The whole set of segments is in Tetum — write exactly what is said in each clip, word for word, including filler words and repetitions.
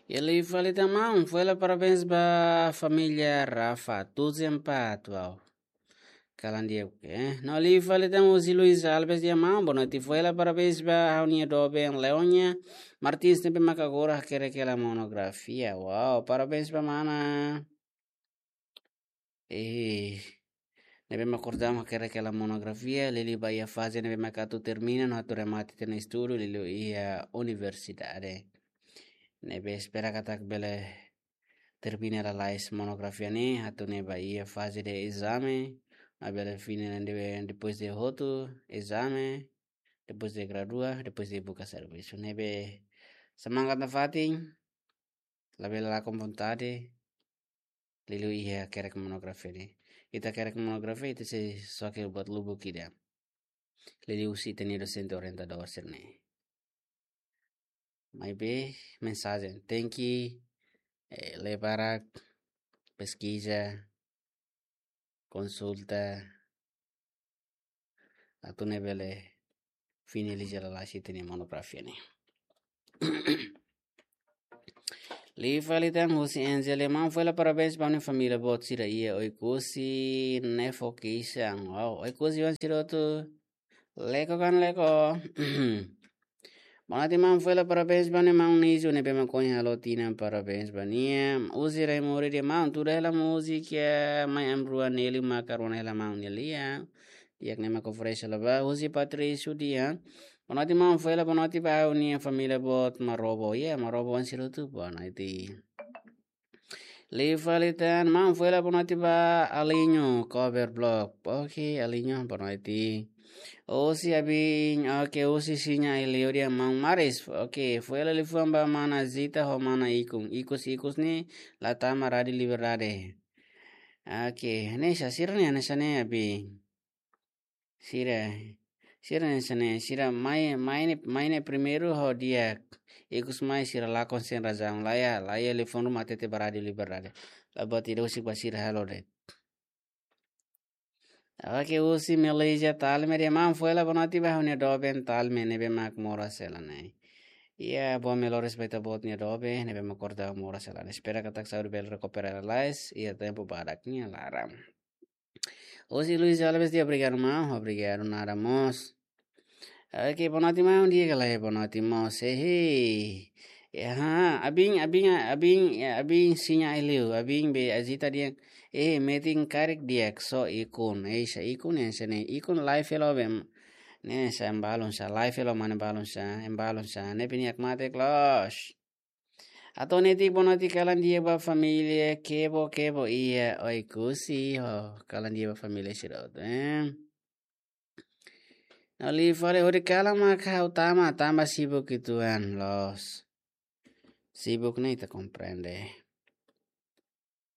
Iha liu fali tan maun, foin hela parabéns ba família Rafa, tujuh empat, wow. Kalan di'ak, eh. No liu fali tan husi Luis Alves dehan maun, boa noite, foin hela parabéns ba ha'u-nia doben Leonia Martins ne'ebé mak agora hakerek hela monografia. Wow, parabéns ba mana. Eh, ne'ebé mak agora hakerek hela monografia, liuliu ba iha faze ne'ebé mak atu termina no atu remata tiha ona estudu, liuliu iha universidade. Ne'ebé espera katak bele termina lalais monografia ne'e, atu nune'e ba iha faze de ezame, no bele fini de, depois de hotu ezame, depois de gradua, depois de buka servisu. Ne'ebé semangat nafatin, labele lakon vontade, liuliu iha hakerek monografia ne'e. Ita hakerek monografia, ita sei xoke buat lubuk ida. Liuliu husi ita-nia dosente orientadór sira-ne'e. Maibé, mensajen, tenke, eh, lee barak, peskiza, konsulta, atu nune'e bele finaliza lalais ita-nia monografia ne'e. Liu fali tan husi Angel dehan maun, foin hela parabéns ba ha'u-nia família boot sira iha Oekusi, Nefo Kisan. Wow, Oekusi-oan sira hotu. Leko kan leko. Boa noite maun, foin hela parabéns ba ha'u-nia maun Nizu ne'ebé mak ohin halo tinan, parabéns ba nia. Husi Raimori dehan maun, tuda hela múzika Mai Ami Rua Neli maka rona hela maun nia lian. Di'ak, ne'e mak oferese hela ba. Husi Patrício dehan, boa noite maun, foin hela boa noite ba ha'u-nia família boot Marobo. Ya, Marobo-oan sira hotu, boa noite. Liu fali tan maun, foin hela boa noite ba Alinho Cover Blog. Oke, Alinho, boa noite. Husi Abin, oke, husi Siña Aileu dehan maun Maris. Oke, foin hela liafuan ba mana Zita ho mana Ikun. Ikus-ikus ne'e la tama Rádio Liberdade. Oke, hanesan sira ne'e, hanesan ne'e Abin. Sira, sira hanesan ne'e, sira mai, mai ne'e, mai ne'e primeiru ho di'ak. Ikus mai sira lakon sem razão. Laiha, laiha liafuan ruma hatete ba Rádio Liberdade. La buat ida husik ba sira halo de'it. Oke, husi Malaysia Talme dehan maun, foin hela boa noite ba ha'u-nia doben Talme ne'ebé mak moras hela ne'e. Ya, boas melhoras ba ita-boot nia doben ne'ebé mak agora moras hela ne'e. Espera katak saúde bele rekupera lalais iha tempu badak nia laran. Husi Luis Alves dehan obrigadu maun, obrigadu nada mós. Oke, boa noite maun, di'ak ka lae, boa noite mós. Ehe. Ya, Abin, Abin, Abin, ya, Abin Siña Aileu, Abin be Azita dehan, eh, metin karik di'ak só Ikun. Eh, hanesan Ikun ne'e, hanesan ne'e, Ikun live hela be. Ne'e hanesan balun sá, live hela mane balun sá, em balun sá. Ne'e pini ak mate close. Atu netik boa noite, kalan di'ak ba família Kebo Kebo iha Oekusi ho. Kalan di'ak ba família sira hotu, eh. No liu fali hodi kalan mak ha'u tama, tanba sibuk uitoan loos. Sibuk ne'e ita komprende.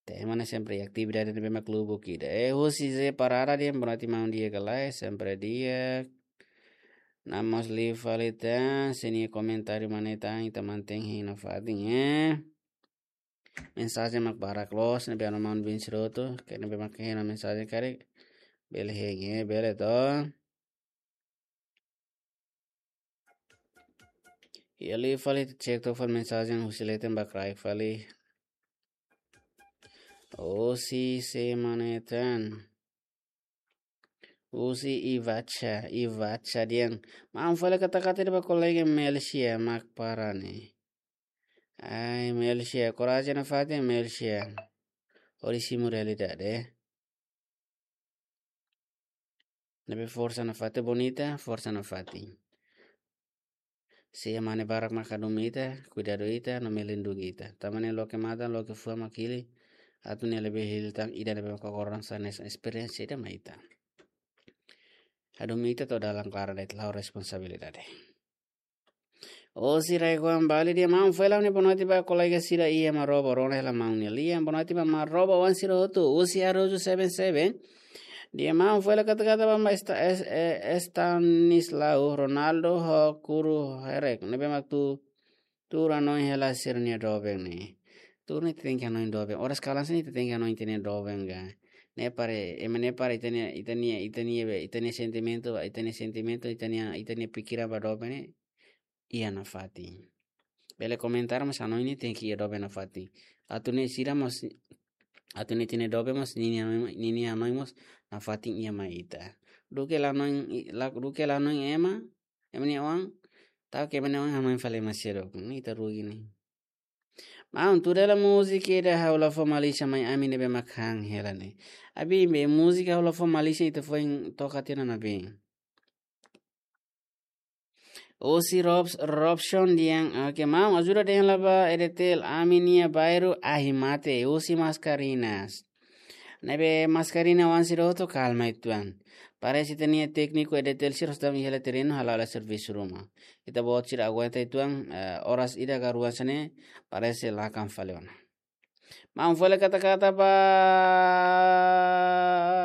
Tema ne'e sempre atividade ne'ebé mak lubuk ida. Eh, husi Zé Parada dehan boa noite maun, di'ak ka lae, sempre di'ak. No mós liu fali tan, se nia komentáriu mak ne'e tan, ita mantein hein nafatin, eh. Mensajen mak barak loos, ne'ebé anu maun bin sira hotu, ke ne'ebé mak hein ona mensajen karik. Bele hein, eh, bele to. Iha liu fali cek tok fali mensajen husi leten ba kraik fali. Husi sé mak ne'e tan. Husi Ivacha, Ivacha dehan. Maun, foin hela katak ida ba kolega Melsia mak para ne'e. Ai, Melsia, korajen nafatin, Melsia. Hodi simu realidade. Ne'ebé forsa nafatin, bonita, forsa nafatin. Sé mak ne'e barak mak hadomi ita, kuidadu ita, no melindungi ita. Tanba ne'e loke matan, loke fuan mak hili, atu nune'e labele hili tan ida ne'ebé mak agora sai hanesan esperiénsia ida mai ita. Hadomi ita to'o dalan klaran de'it, la'o responsabilidade. Husi Raiguan Bali dehan maun, foin hela ha'u-nia boa noite ba kolega sira iha Marobo, rona hela maun nia lian, boa noite ba Marobo-oan sira hotu, husi Arojo seven seven. Dehan maun, foin hela katak ida ba Esta-, Es-, eh, Estanislau, Ronaldo ho Kuru Herek. Ne'ebé mak tuur, tuur hanoin hela sira-nia doben ne'e. Tuur ne'e tenke hanoin doben. Oras kalan sini tenke hanoin ita-nia doben ka. Ne'e para, ema ne'e para ita-nia, ita-nia, ita-nia, ita-nia sentimentu, ita-nia sentimentu, ita-nia, ita-nia pikiran ba doben ne'e iha nafatin. Bele komentar, mas hanoin ne'e tenke iha doben nafatin. Atu nune'e sira mós, atu nune'e ita-nia doben mós, ninia hanoin, ninia hanoin mós nafatin iha mai ita. Duké la hanoin, la, duké la hanoin ema, ema nia oan, tau ke ema nia oan hanoin fali ema seluk. Ne'e ita rugi ne'e. Maun, tuir hela múzika ida ha'u la fó malísia mai ami ne'ebé mak han hela ne'e. Abin be múzika ha'u la fó malísia ita foin toka tiha ona abin. Husi Robs-, Robson dehan, oke, maun, ajuda dehan la ba EDTL, ami-nia bairru ahi mate, husi Mascarenhas. Ne'ebé Mascarenhas oan sira hotu kalma uitoan. Parese ita-nia tékniku EDTL sira hotu iha hela terrenu hala'o hela servisu ruma. Ita-boot sira aguenta uitoan, eh, oras ida ka rua hanesan ne'e, parese lakan fali ona. Maun, foin hela kata-kata ba,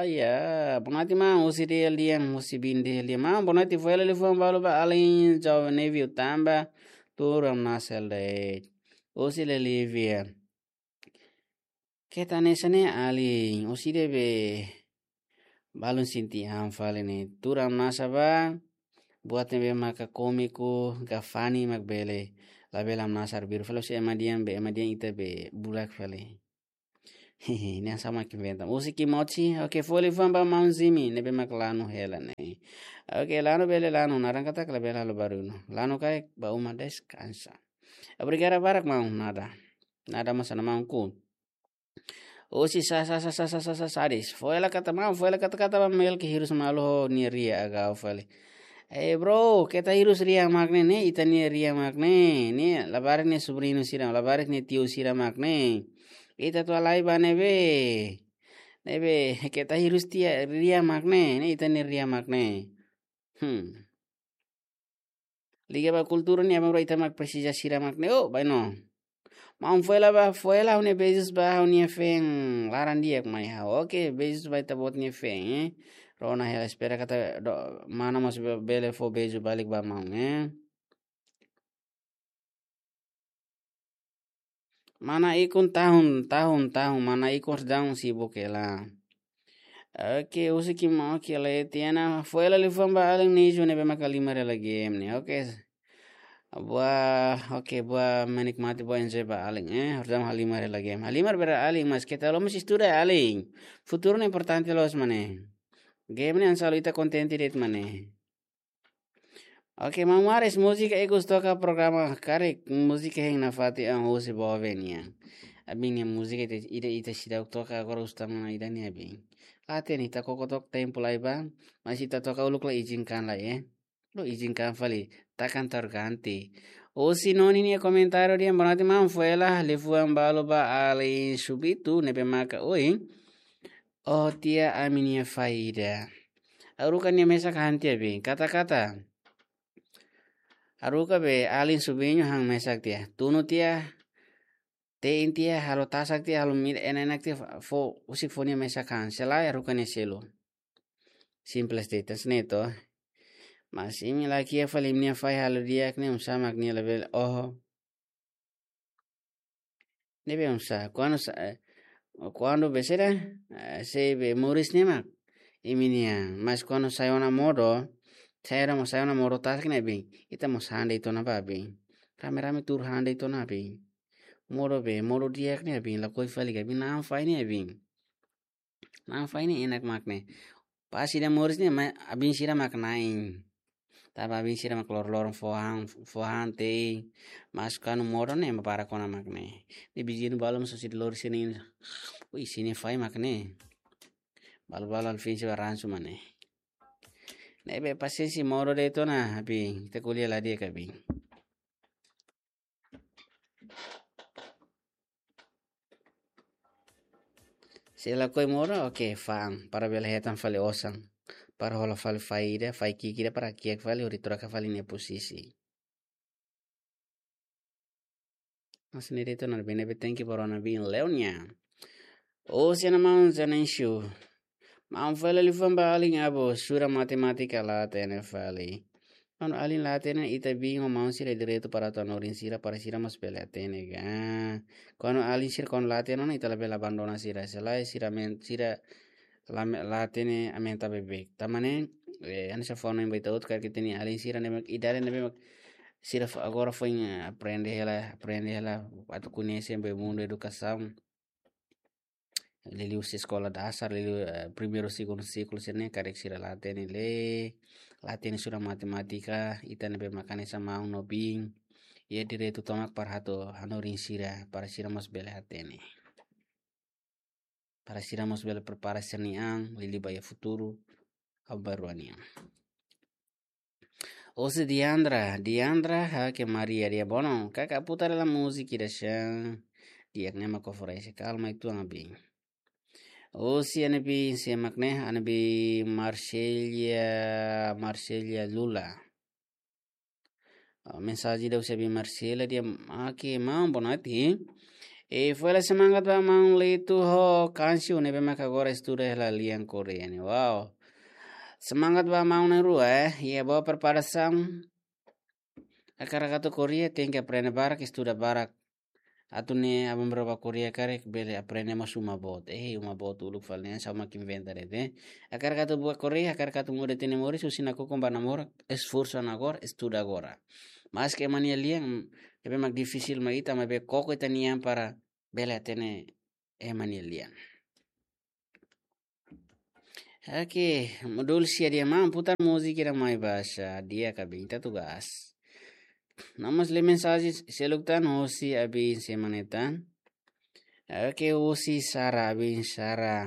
ya, boa noite maun, husi Dili dehan, husi Bin Dili dehan. Maun, boa noite, foin hela liafuan balu ba alin jovem Neville tanba tuur hamnasa hela de'it. Husi Lelivia. Keta hanesan ne'e alin, husi ida be balun sente an fali ne'e. Tuur hamnasa ba, buat ne'ebé maka kómiku, ka funny mak bele. Labele hamnasa arbiru fali husi ema dehan be, ema dehan ita be bulak fali. Ne'e hanesan mak inventa. Husi Kimochi, oke, foin hela liafuan ba maun Zimi, ne'ebé mak lanu hela ne'e. Oke, lanu bele lanu, naran katak labele halo barullu. Lanu karik ba uma deskansa. Obrigada barak maun, nada. Nada mós ona maun ku. Husi sa, sa, sa, Sadis. Foin hela kata maun, foin hela kata-kata ba Melki hirus malu ho nia riak agau fali. Eh, bro, keta hirus riak mak ne'e, ne'e ita-nia riak mak ne'e. Ne'e labarik nia sobriñu sira, labarik nia tiu sira mak ne'e. Ita atu halai ba ne'ebé. Ne'ebé, keta hirus tiha riak mak ne'e, ne'e ita-nia riak mak ne'e. Hmm. Liga ba kultura ne'e, abang bro, ita mak presiza sira mak ne'e. Oh, bainhira. Maun, foin hela ba, foin hela ha'u-nia beijos ba ha'u-nia feen laran di'ak mai ha'u. Oke, beijos ba ita-boot nia feen, eh. Rona hela, espera katak do-, mana mós be-, bele fó beijo balik ba maun, eh. Mana ikun tahun, tahun, tahun, mana ikun sedang sibuk hela. Oke, husi Kimochi, oke, Letiana, foin hela liafuan ba alin Nijo ne'ebé mak halimar hela game ne'e. Oke. Buat, oke, buat menikmati, buat enjoy ba alin, eh. Harus halimar hela game. Halimar bele alin, mas keta haluha mós estuda alin. Futuru ne'e importante loos mak ne'e. Game ne'e hanesan halo ita kontente de'it mak ne'e. Oke, Maun Maris, múzika ikus toka programa karik, múzika hein nafatin an husi Bovenia. Abin nia múzika ita, ita, ita seidauk toka agora husi tan ida-ne'e abin. Ate ni ta koko tok tempu lai ba, mas ita toka uluk la izinkan lai, eh. Lo izinkan fali, takan terganti. Husi Noni nia komentáriu dehan, boa noite maun, foin hela liafuan balu ba alin Subitu, ne'ebé maka oin. Oh, tiha ami-nia faida. Haruka nia mesak han tiha be. Kata-kata. Haruka be alin Subiñu han mesak tiha. Tunu tiha. Te'in tiha, halo tasak tiha, halo mira enak-enak tiha, fó, husik fó nia mesak han. Se lae haruka nia selu. Simples de'it, hanesan ne'e to. Mas imi la kiak fali imi-nia fahi halo di'ak ne'e, oinsá mak nia labele oho. Ne'ebé oinsá, kuandu sa-, eh, kuandu besera, eh, sei be moris ne'e mak imi-nian, mas kuandu sai ona modo, sai ona mo-, sai ona modo tasak ne'e abin, ita mós han de'it ona ba abin. Rame-rame tuur han de'it ona abin. Modo be, modo di'ak ne'e abin, lakohi fali ka abin, na'an fahi ne'e abin. Na'an fahi ne'e enak mak ne'e. Pas ida moris ne'e, ma-, abin sira mak na'in. Tanba abin sira mak lor-loron fó han, fó han te'in. Mas kuandu modo ne'e, ema barak ona mak ne'e. Ne'e viziñu balu mós husi lori sini. Ui, sini fahi mak ne'e. Balu-balu alin sira ransu mak ne'e. Ne'ebé pasiénsia modo de'it ona, abin. Ita ko'alia la di'ak abin. Se lakohi modo, oke, fa'an. Para bele hetan fali osan. Para hola fali faida, fahi ki'ik ida para kiak fali, hodi troka fali nia posisi. Mas ne'e de'it ona, ne'ebé thank you para ona bin Leonia. Husi Ana Maun Zanensio. Maun, foin hela liafuan ba alin, abu, sura matemátika la hatene fali. Kuandu alin la hatene, ita bin ho maun sira direitu para atu hanorin sira, para sira mós bele hatene ka. Kuandu alin sira kuandu la hatene ona, ita labele abandona sira. Se lae sira men-, sira la me-, la hatene aumenta beibeik. Tanba ne'e, eh, hanesan fó hanoin ba ita hotu katak ita-nia alin sira ne'ebé mak idade ne'ebé mak sira fo-, agora foin, eh, aprende hela, aprende hela, atu koñese be mundu edukasaun. Liuliu husi eskola dasar, liuliu, eh, primeiru, segundu siklu sira-ne'e, karik sira la hatene lee, la hatene estuda matemátika, ita ne'ebé mak hanesan maun no biin, iha direitu tomak para atu hanorin sira, para sira mós bele hatene. Para sira mós bele prepara sira-nia an, liuliu ba iha futuru, aban-bainrua nian. Husi Diandra, Diandra, ha'u ke Maria, dia bono, kaka putar la múzika ida shan. Di'ak ne'e mak oferese, kalma itu anga biin. Husi ami-nia biin, sé mak ne'e, ami-nia biin Marcelia, Marcelia Lula. Ah, mensajen ida husi ami-nia biin Marcela, dia, oke, maun, boa noite. E foin halo semangat ba maun Lito ho Kansiu ne'ebé mak agora estuda hela lian Koreia ne'e. Wow. Semangat ba maun na'in-rua, eh. Iha boa preparasaun. Hakarak atu Koreia, tenke aprende barak, estuda barak. Atu nune'e aban-bainrua ba Koreia karik bele aprende mós uma boot. Eh, uma boot uluk fali ne'e, sá mak inventa de'it, eh. Hakarak atu ba Koreia, hakarak atu muda ita-nia moris, husi nakukun ba namorak, esforsu ona agora, estuda agora. Maske ema nia lian, ne'ebé mak difisil mak ita, maibé koko ita-nia an para bele hatene ema nia lian. Oke, modul sia dia maun putar múzika ida mai basa, di'ak ka biin, ita tugas. Namas le mensajen seluk tan husi ami-nia biin, sé mak ne'e tan. Oke, husi Sara, ami-nia biin Sara.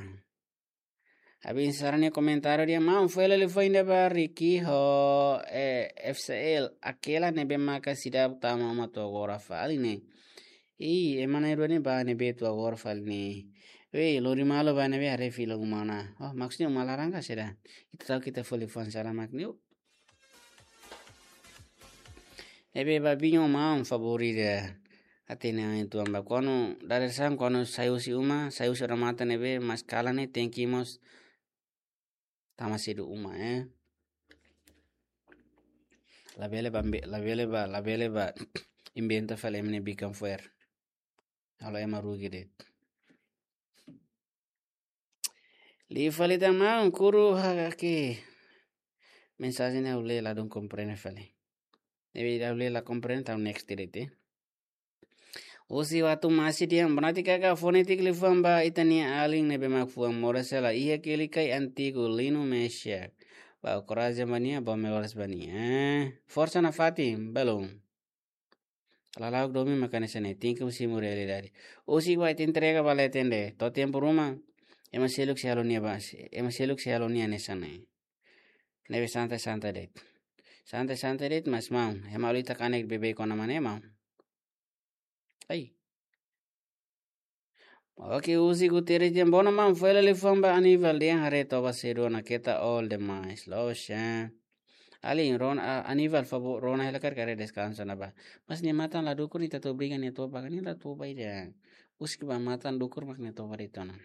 Ami-nia biin Sara nia komentáriu dia maun, foin halo liafuan ida ba Ricky ho, eh, F C L, aquela ne'ebé maka seidauk tama uma to'o agora fali ne'e. Ih, ema na'in-rua ne'e ba ne'ebé to'o agora fali ne'e. Wei, lori malu ba ne'ebé haree fila uma ona. Oh, maksudnya uma laran ka saida? Ita ta'uk ita fó liafuan saida mak ne'e. Ne'ebé ba biin ho maun favór ida. Hatene an uitoan ba kuandu dadeer-saan, kuandu sai husi uma, sai husi odamatan ne'ebé, maskalan ne'e tenke mós tama sedu uma, eh. Labele ba, ambe-, labele ba, labele ba inventa fali ema nia bikan fo'er. Halo ema rugi de'it. Liu fali tan maun, kuru ha ke. Mensajen ne'e ha'u lee ladún komprende fali. Ne'ebé ida ha'u lee la komprende, tau next de'it, eh. Husi Watu Masi dia, boa noite kaka, fó netik liafuan ba ita-nia alin ne'ebé mak fuan moras hela iha Kelikai antigu, Lino Mesiak. Ba korajen ba nia, ba melhoras ba nia. Eh, forsa nafatin, belum. Lala'ok domin mak hanesan ne'e, tenke simu realidade. Husi ba ita entrega ba leten de'it, to'o tempu ruma, ema seluk sei halo nia ba, ema seluk sei halo nia hanesan ne'e. Ne'ebé santai-santai de'it. Santai-santai de'it, mas maun, ema ita kanek beibeik ona mak ne'e maun. Ai. Oke, husi Guterres dia, bono maun, foin halo liafuan ba Aníbal dia, haree toba sedu ona, keta all demais. Loos, eh. Alin, rona, a-, Aníbal, favór, rona hela karik haree deskansa ona ba. Mas nia matan la dukur, ita atu obriga nia toba, nia la toba ida. Husik ba matan dukur mak nia toba de'it ona.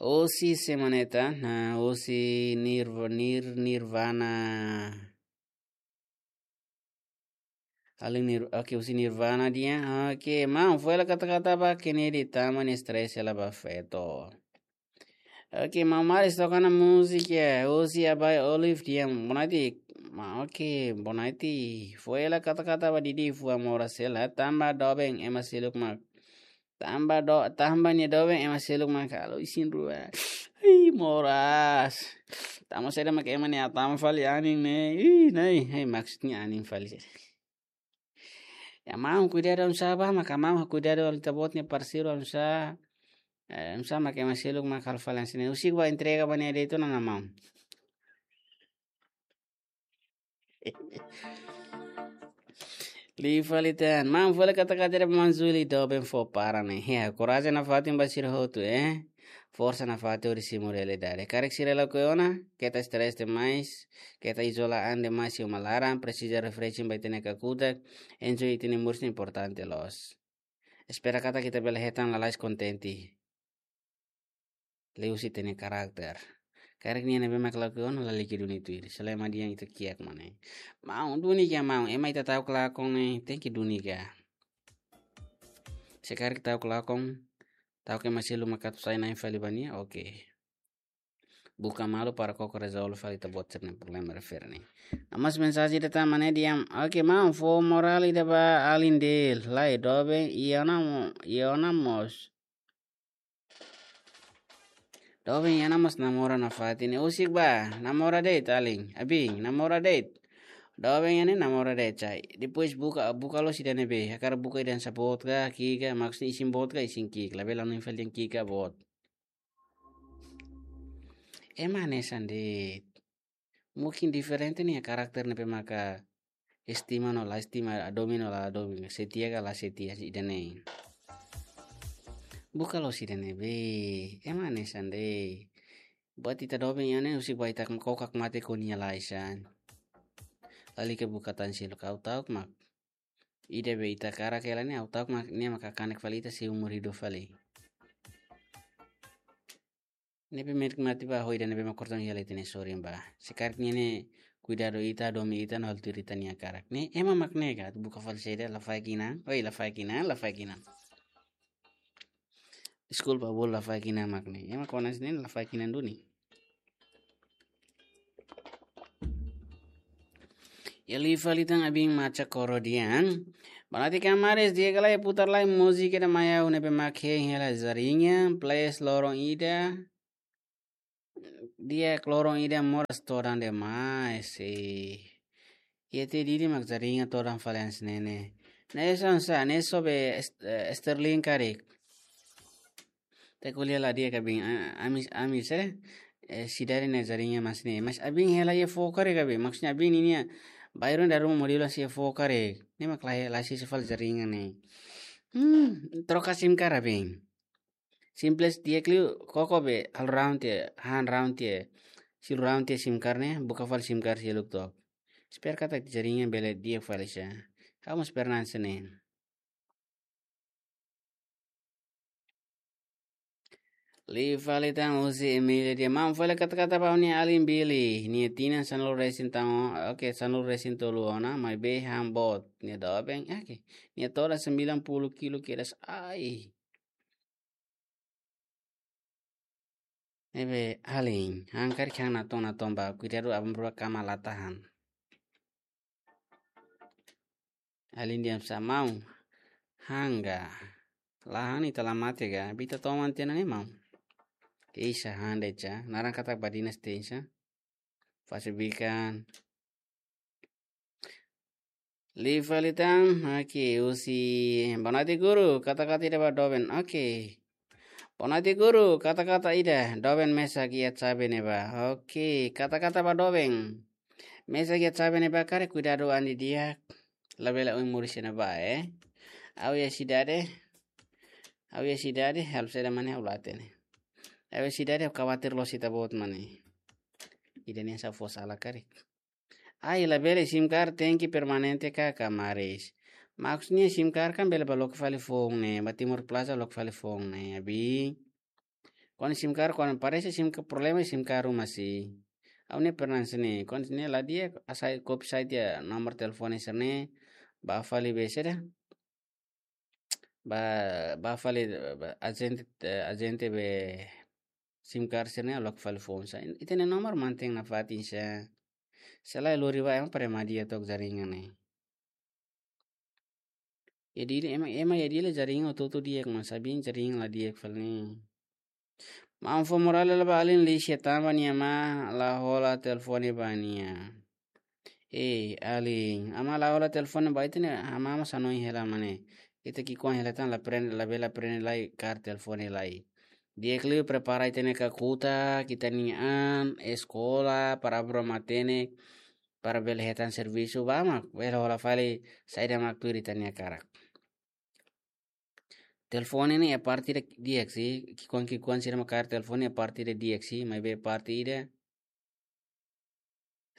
Husi sé mak ne'e tan, nah, husi Nirv-, Nir-, Nirvana. Alin Nir-, oke, husi Nirvana dia. Oke, maun, foin halo kata-kata ba Kennedy, tama nia stress hela ba feto. Oke, maun Maris toka ona múzika, husi Abai Olive dia, boa noite. Ma, oke, boa noite. Foin halo kata-kata ba Didi, fuan moras hela, tanba doben, ema seluk mak. Tanba do-, tanba nia doben ema seluk mak halo isin-rua. Ih, moras. Tanba saida mak ema nia hatama fali anin ne'e. Ih, ne'e, hei, maksudnya anin fali. Ya, maun kuidadu oinsá ba, maka maun kuidadu ita-boot nia parseiru oinsá. Eh, oinsá mak ema seluk mak halo fali hanesan ne'e. Husik ba entrega ba nia de'it ona maun. Liu fali tan. Maun, foin halo kata-kata ida ba Manzuli, doben fó para ne'e. Ya, korajen nafatin ba sira hotu, eh. Forsa nafatin hodi simu realidade. Karik sira lakohi ona, keta stress demais, keta izola an demais iha uma laran, presiza refreshing ba ita-nia kakutak, enjoy ita-nia moris ne'e importante loos. Espera katak ita bele hetan lalais kontente. Liuhusi ita-nia karakter. Karik nia ne'ebé mak lakohi ona lalika duni tuir. Selama dia ita kiak mak ne'e. Maun duni ka maun, ema ita ta'uk lakon ne'e, tenke duni ka. Se karik ta'uk lakon, ta'uk ema seluk mak atu sai na'in fali ba nia, oke. buka malu para koko rezolve fali ita-boot sira-nia problema refere ne'e. Amas mensajen ida tan mane diam. Oke, maun fó morál ida ba alin de'it. Lae, doben, iha ona mo-, iha ona mós. Doben iha ona mós namora nafatin ne'e. Husik bá, namora de'it alin. Abin, namora de'it. Doben iha ne'e namora de'it sai. Depois buka, buka loos ida ne'ebé. Hakarak buka ida hanesan boot ka, ki'ik ka, maksudnya isin boot ka, isin ki'ik. Labele hanoin fali dehan ki'ik ka boot. Ema hanesan de'it. Mungkin diferente nia karakter ne'ebé maka estima no la estima, hadomi no la hadomi, setia ka la setia, ida-ne'e. Buka loos ida ne'ebé, ema hanesan de'it. Buat ita doben iha ne'e husik bá ita kokak mate ho nia laisan. Lalika buka tan seluk, ha'u ta'uk mak. Ida be ita hakarak hela ne'e, ha'u ta'uk mak, nia mak kanek fali ita seumur hidup fali. Ne'ebé menik mate bá, ho ida ne'ebé mak kortan hela ita-nia sorin bá. Se karik nia ne'e kuidadu ita, hadomi ita, no halo tuir ita-nia hakarak. Ne'e, ema mak ne'e ka, buka fali saida, lafaek inan, oi, lafaek inan, lafaek inan. Deskulpa, bolu lafaek inan mak ne'e. Ema kona sini lafaek inan duni. Iha liu fali tan abin macha koro dian. Banati kamares dia kala iha putar lai múzika ida mai ha'u ne'ebé mak hein hela Zarinha, please loron ida. Di'ak, loron ida moras todan demais, eh. Iha tiha ida mak Zarinha todan fali hanesan ne'e. Ne'e hanesan sá, ne'e só be est-, eh, Sterling karik. Ita ko'alia la di'ak abin, a-, ami, ami sira, eh, sidade ne'e Zarinha hanesan ne'e. Mas abin hela iha foho karik abin. Maksudnya abin ninia bairru daru modelu hanesan iha foho karik. Ne'e mak la, la sisa fali Zarinha ne'e. Hmm, troka sim card abin. Simples di'ak liu, koko be, halo round tiha, han round tiha. Silu round tiha sim card ne'e, buka fali sim card seluk took. Espera katak Zarinha bele di'ak fali sá. Ha'u mós pernah hanesan ne'e. Liu fali tan husi Emília dehan, maun fali kata-kata ba nia alin Billy. Nia tinan sanulu resin tan, oke, sanulu resin tolu ona, maibé han boot. Nia doben, oke. Nia todan sembilan puluh kilo kedas, ai. Ne'ebé alin, han karik han natoon-natoon bá, kuidadu aban-bainrua kama la tahan. Alin dehan sá maun, han ka. La han ita la mate ka, be ita toman tiha ona ne'e maun. Keisa han de'it sá, naran katak badinas tensa. Fase bikan. Liu fali tan, oke, husi. Boa noite guru, kata-kata ida ba doben, oke. Boa noite guru, kata-kata ida, doben mesak iha xave ne'ebá. Oke, kata-kata ba doben. Mesak iha xave ne'ebá karik kuidadu an didi'ak. Labele oin moris iha ne'ebá, eh. Ha'u iha sidade. Ha'u iha sidade, halo saida mane ha'u la hatene. Ha'u iha sidade, ha'u khawatir loos ita-boot mane. Ida-ne'e sá fó sala karik. Ai, labele sim card tenke permanente ka kamares. Maksudnya sim card kan bele bá loke fali foun ne'e, ba Timor Plaza loke fali foun ne'e, abin. Kuandu sim card, kuandu parese sim card problema sim card ruma si. Ha'u ne'e pernah hanesan ne'e, kuandu ne'e la di'ak, hasai kopi sai tiha nomor telefone sira-ne'e, bá fali be saida. Bá, bá fali, bá, ajente, eh, ajente be sim card sira-ne'e loke fali foun sá. Ita-nia nomor mantein nafatin sá. Se lae lori bá ema para ema di'ak took Zarinha ne'e. Iha Dili ema, ema iha Dili Zarinha hotu-hotu di'ak, mas abin Zarinha la di'ak fali ne'e. Maun fó morál hela ba alin Lisia tanba nia amá la hola telefone ba nia. Eh, alin, amá la hola telefone ba ita ne'e, amá mós hanoin hela mane. Ita ki'ikoan hela tan la prende, labele aprende lai kaer telefone lai. Di'ak liu prepara ita-nia kakutak, ita-nia an, eskola, para abra matenek, para bele hetan servisu ba mak, bele hola fali saida mak tuir ita-nia hakarak. Telefone ne'e iha parte ida di'ak si, ki'ikoan-ki'ikoan sira mak kaer telefone iha parte ida di'ak si, maibé parte ida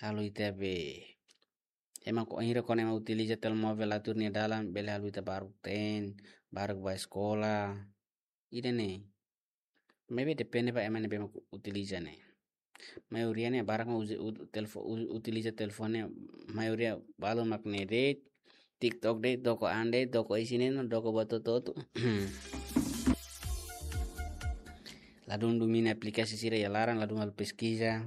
halo ita be. Ema ko-, ira kona ema utiliza telemóvel la tuir nia dalan, bele halo ita baruk teen, baruk bá eskola. Ida-ne'e. Maibé depende ba ema ne'ebé mak utiliza ne'e. Maioria ne'e barak mak uza, ut-, telefo-, u-, utiliza telefone, maioria balu mak ne'e de'it, TikTok de'it, doko an de'it, doko isin de'it, no doko buat hotu-hotu. Ladún domina aplikasi sira iha laran, ladún halo peskiza.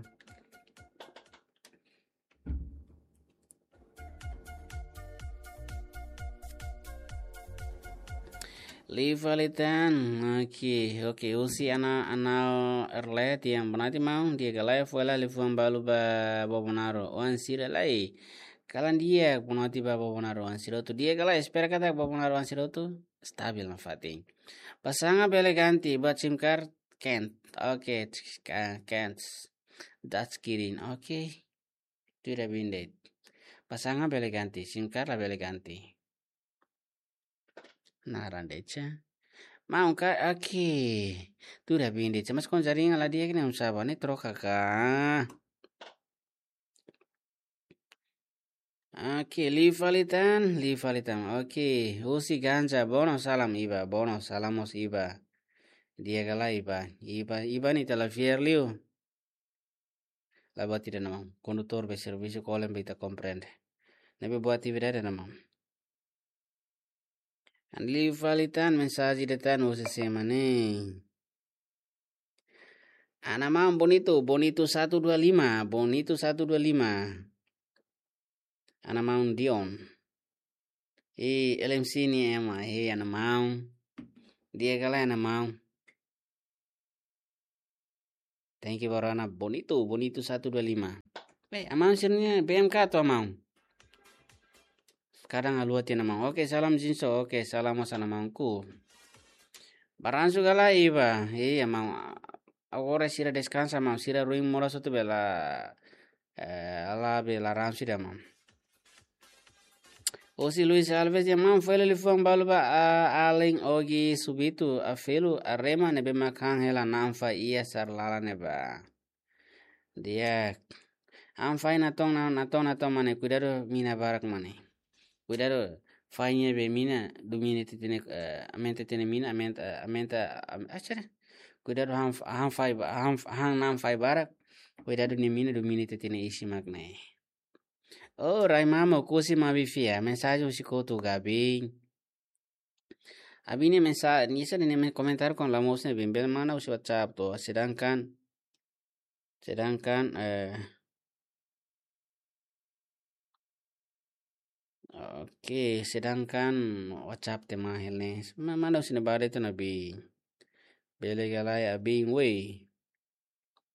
Liu fali tan, oke, oke, husi Ana, Ana Erlet, yang bonati maun, di'ak ka lae, foin lai liafuan balu ba Bobonaro, oan sira lai. Kalan di'ak, bonati ba Bobonaro, oan sira hotu, di'ak ka lae, espera katak Bobonaro, oan sira hotu, stabil nafatin. Pasangan bele ganti, buat SIM card, can't, oke, ka-, can't, touch screen, oke. Tuir ha'u-nia de'it. Pasangan bele ganti, SIM card la bele ganti. Naran de'it. Maun ka, oke. Tuir ha'u-nia de'it. Mas kon jaringan la di'ak ne'e, oinsá bá ne'e, troka ka. Oke, liu fali tan, liu fali tan. Oke, husi Ganja, bono salam Iba, bono salam mós Iba. Di'ak ka lae Iba, Iba, Iba ne'e ita la fiar liu. La buat ida ona maun. Kondutór be servisu kolen be ita komprende. Ne'ebé buat ida ida ona maun. Liu fali tan mensajen ida tan husi sé mak ne'e. Ana maun Bonito, Bonito satu dua lima, Bonito satu dua lima. Ana maun Dion. I L M C ne'e ema, i ana maun. Di'ak ka lae ana maun. Thank you, Barana. Bonito, Bonito satu dua lima. Eh, amaun sira-ne'e B M K atau amaun? Kadang haluha tiha ona maun. Oke, salam Jinso. Oke, salam mós ona maunku. Baransu ka lae Iba. Iya, maun. Agora sira deskansa, maun. Sira ruin moras hotu bela. Eh, ala bela ransu ida, maun. Husi Luis Alves, ya maun, foin lai liafuan balu ba, a, alin Ogi Subitu, Afelu, Arema, ne'ebé mak han hela na'an fai iha sar lalan ne'ebá. Di'ak. Han fai natoon, na-, natoon, natoon mak ne'e, kuidadu mina barak mak ne'e. Kuidadu fai ne'ebé mina, domina tiha tiha ne'e, eh, aumenta tiha tiha ne'e mina, aumenta, eh, aumenta, am-, ah, cara. Kuidadu han, han fai ba-, han, han na'an fai barak. Kuidadu ne'e mina, domina tiha tiha ne'e isin mak ne'e. Oh, rai mama, kusi mabi fia. Mensajen husi kotuk Gabi. Abi ne'e mensa-, nia sira ne'e men komentar kon la mosu ne'e bimbel mana husi WhatsApp to. Sedangkan, sedangkan, eh, oke, sedangkan WhatsApp te mahel ne'e. Ma-, mana husi ne'ebá de'it ona Abi. Bele ka lae Abi, woi.